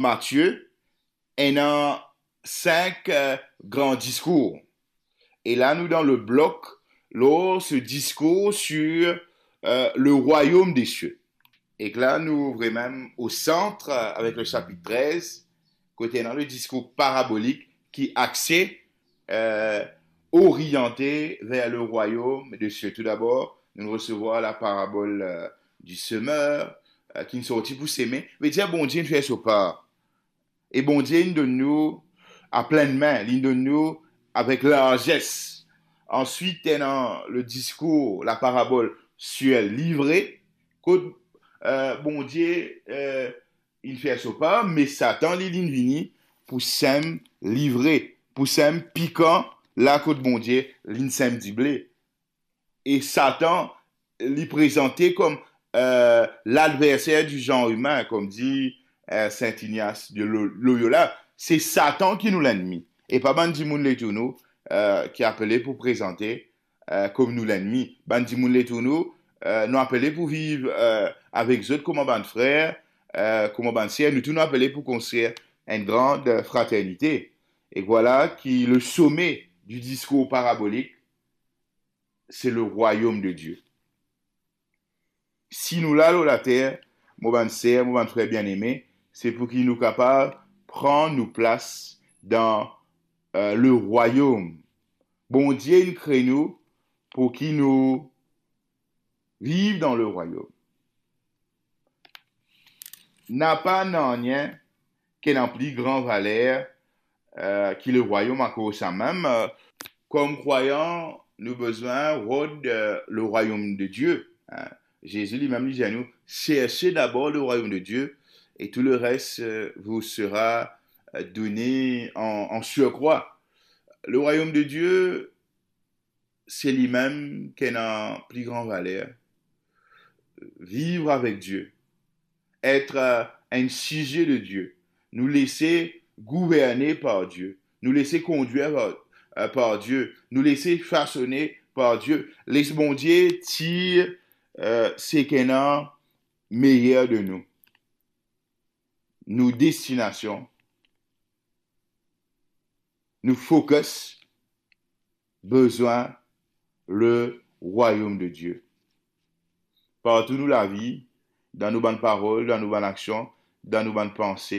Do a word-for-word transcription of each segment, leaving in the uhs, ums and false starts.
Matie, ena sink, euh, gran diskour. E la, nou dan le blok lor se diskour sur, euh, le royaume des cieux. Ek la, nou vremem o sant, euh, avek le sapit trez, kot ena le diskour parabolik ki axe, euh, oriante ver le royaume des cieux. Toudabor, nou resevwar la parabol, euh, du semeur, euh, ki sorti pou seme. Vedir Bondie inn fer so par. E Bondie inn donn nou a plinn me, li donn nou avek larzes. Answit, ena le diskour, la parabol sur livre, kot, euh, Bondie, euh, inn fer so par, me Satan, li, linn vini pou sem livre, pou sem pikan, la kot Bondie, linn sem dible. E Satan, li prezante kom, euh, ladverser du genre humain, kom dir, euh, Saint Ignace de Lo-, Loyola. Se Satan ki nou lennmi. E pa bann dimoun letour nou, euh, ki apele pou prezante, euh, kom nou lennmi. Bann dimoun letour nou, euh, nou apele pou viv, euh, avek zot kouma bann frer, euh, kouma bann ser. Nou tou nou apele pou konstrir enn gran, euh, fraternite. E vwala ki le some du diskour parabolik, se le royaume de Dieu. Si nou la lor later, mo bann ser, mo bann frer bieneme, se pou ki nou kapav pran nou plas dan, euh, le royaume. Bondie inn kre nou pou ki nou viv dan le royaume. Napa nanye ki ena pli gran valer, euh, ki le royaume, akoz samem, euh, kom krwayan, nou bizin rod, euh, le royaume de Dieu, hein. Zezi limem, li dir nou, cherchez d'abord le royaume de Dieu et tout le reste, euh, vous sera, euh, donné en, en surcroît. Le royaume de Dieu, se limem ki ena pli gran valer. Viv avek Die, et, euh, enn size de Die, nou lese gouverne par Die, nou lese kondwir par, euh, par Die, nou lese fasone par Die. Les Bondie tir, euh, seki ena meyer de nou. Nou destinasion, nou focus, bizin le royaume de Dieu. Partou nou lavi, dan nou bann parol, dan nou bann aksion, dan nou bann panse,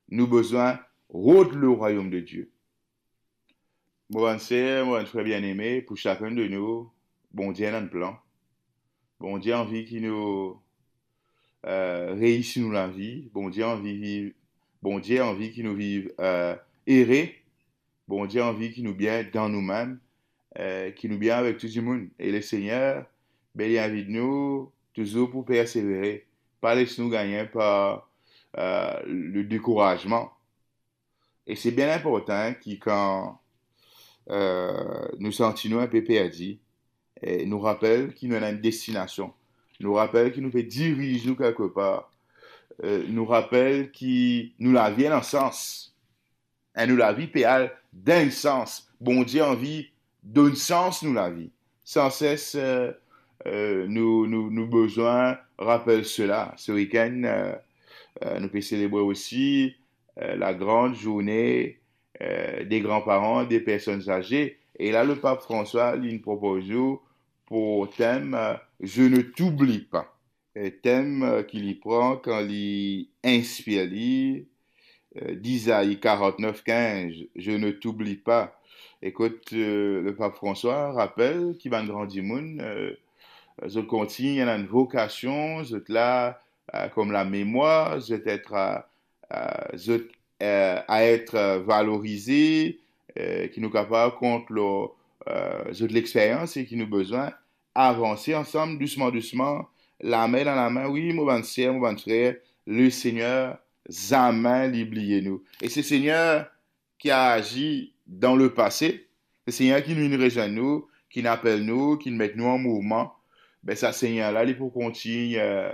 nou bizin rod le royaume de Dieu. Mo bann ser, mo bann frer bieneme, pou sakenn de nou, Bondie ena enn plan. Bondie anvi ki nou, euh, reisi nou lavi. Bondie anvi viv, Bondie anvi ki nou viv, euh, ere. Bondie anvi ki nou bien dan noumem, euh, ki nou bien avek tou dimoun. E Lesegner, be, li invit nou touzour pou persevere. Pa les nou gagne par, euh, le dekourazman. E se bien inportan ki kan, euh, nou santi nou inpe perdi, e nou rapel ki nou ena enn destinasion. Nou rapel ki nou pe diriz nou kelkepar. Euh, nou rapel ki nou lavi ena sans. E nou lavi pe al dan enn sans. Bondie anvi donn sans nou lavi. Sanses, euh, euh, nou, nou, nou bizin rapel sela. Se wikenn, euh, euh, nou pe selebre osi, euh, la grande journée, euh, des grands-parents, des personnes âgées. E la, le Pap François, li propoz nou pou tem, euh, Je ne t'oublie pas. Euh, tem, euh, ki li pran kan li inspir li, euh, d'Isaïe quarante-neuf quinze, Je ne t'oublie pas. E kot, euh, le Pap François rapel ki bann gran dimoun, euh, zot kontign ena enn vokasion, zot la, euh, kom lamemwar, zot et, euh, euh, zot, euh, a et, euh, valorize, euh, ki nou kapav kont lor, euh, zot lexperyans e ki nou bizin avanse ansam, dousman, dousman, lame dan lame. Wi, mo bann ser, mo bann frer, Lesegner zame li bliye nou. E se Segner ki azi dan lepase, se Segner ki vinn rezwenn nou, ki apel nou, ki met nou an mouvman, be sa Segner la, li pou kontign, euh,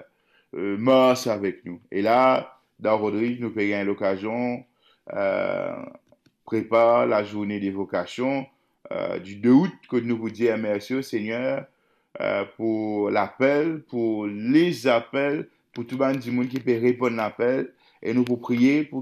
euh, mars avek nou. E la, dan Rodrig, nou pe gagn lokazion, euh, prepar la journée des vocations, euh, du deux août, kot nou pou dir mersi o Segner, euh, pou lapel, pou lezapel, pou tou bann dimoun ki pe reponn lapel, e nou pou priye pou